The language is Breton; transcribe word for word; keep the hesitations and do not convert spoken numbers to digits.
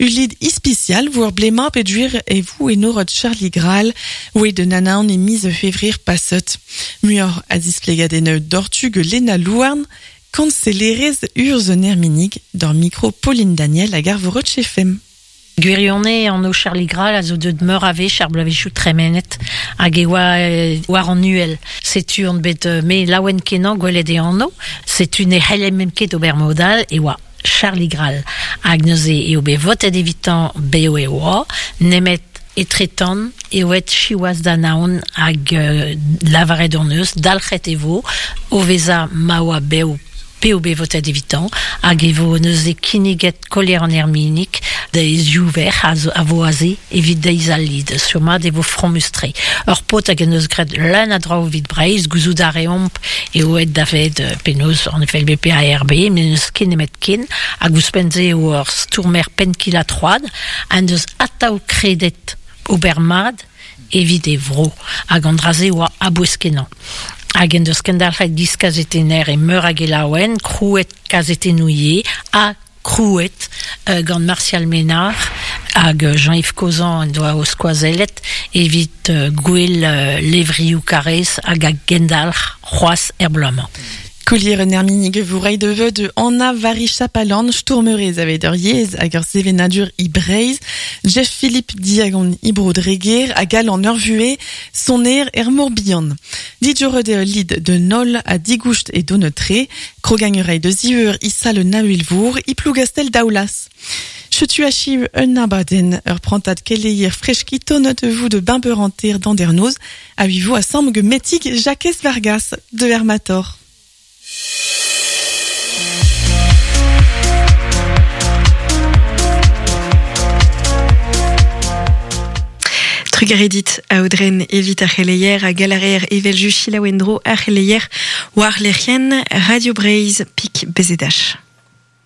Ulid ispicial vour blema peduir e vou enorot Charlie Graal, oe de nanaon e mise fevrir passot. Muor a displegadeneu dortug Lena Louarn, kancellerez urz Nerminig, d'or micro Pauline Daniel a garvorot chefem. Gwirionez an o Charlie Graal a zo deut meur a vech ar bloavezhioù tremenet hag e oa war an uhel. Setu an bet me laouen kenañ gwelet e anv, setu ne c'helle mem ket ober modal e oa Charlie Graal. Hag neuze eo bet votet evitan beo e oa, nemet etretan e oet chiwaz da naon hag euh, lavaret an eus, dalc'het e vo, o veza ma oa beo pe o bet votet evitan, hag e vo neuze kinniget kolier an erminig da ziouver a, a vo aze evit deiz al lid, surmat e vo frommustre. Ur pot hag en eus gret leun a draoù evit Breizh, gouzout a reomp e oet da vet penaos an F L B P A R B, met n'eus ket nemet ken, hag ouzhpenn-se eo ur stourmer penn-kil ha troad, an deus atav kredet ober mat evit e vro, hag an dra-se oa abouez kenañ. Hag en deus kendalc'het giz kazetenner e meur hag e laouen, krouet kazetenouie, ha krouet euh, gant Martial Ménard hag Jean-Yves Cozan en doa o skoazellet evit euh, gwell euh, levrioù karez hag a gendalc'h c'hoazh er bloaz-mañ. Kolier en erminig vourei de veu de Anna Vari-Chapalan, stourmerez aveit ur yezh hag ur sevenadur i Breizh, Jeff Philippe Diagon i Bro-Dreger hag al an ur vue soner er Morbihan. Dijorod eo lid de Nol a digoust e donetre, krogagnurei de zieur i sal Nahuilvour, i Plougastel daoulas. Chetu achiv un abaden ur prantad keleier freski tonnet vous de bimperanter d'Andernoz, a vivo a samg metig Jacques Vargas de Hermator. Trugaredit a Audren evit ar c'heleier a galarer evel ju chilaouendro ar c'heleier war lec'hien Radio Breizh pik B Z H.